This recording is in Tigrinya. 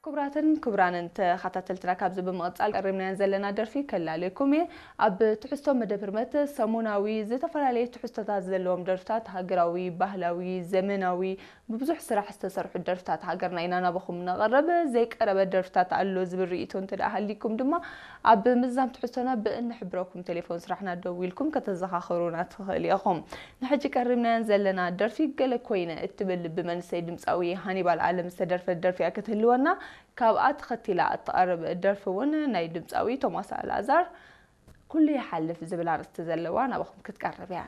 ክቡራትን ክቡራንን ተኸታተልትና፣ ካብዚ ብምቕጻል ቀሪብናየን ዘለና ደርፊ ከላልየኩም እየ። ኣብ ትሕዝቶ መደብ ህርመት ሰሙናዊ ዝተፈላለዩ ትሕዝቶታት ዘለዎም ደርፍታት፣ ሃገራዊ፣ ባህላዊ፣ ዘመናዊ፣ ብብዙሕ ስራሕ ዝተሰርሑ ደርፍታት ሃገርና ኢና ናባኹም ነቕርብ። ዘይቀረበ ደርፍታት ኣሎ ዝብል ርእይቶ እንተ ደኣ ሃሊኩም ድማ ኣብ ምዝዛም ትሕዝቶና ብእንሕብረኩም ቴሌፎን ስራሕና ደዊልኩም ከተዘኻኽሩና ትኽእል ኢኹም። ንሕጂ ቀሪብናየን ዘለና ደርፊ ገለ ኮይነ እትብል ብመንሰይ ድምፃዊ ሃኒባል ኣለም ዝተደርፈት ደርፊ እያ ክትህልወና። ካብኣ ተኸቲላ እትቐርብ ደርፊ እውን ናይ ድምፃዊ ቶማስ ኣልኣዛር ኩሉ ይሓልፍ ዝብል ኣርእስቲ ዘለዋ ናባኹም ክትቀርብ እያ።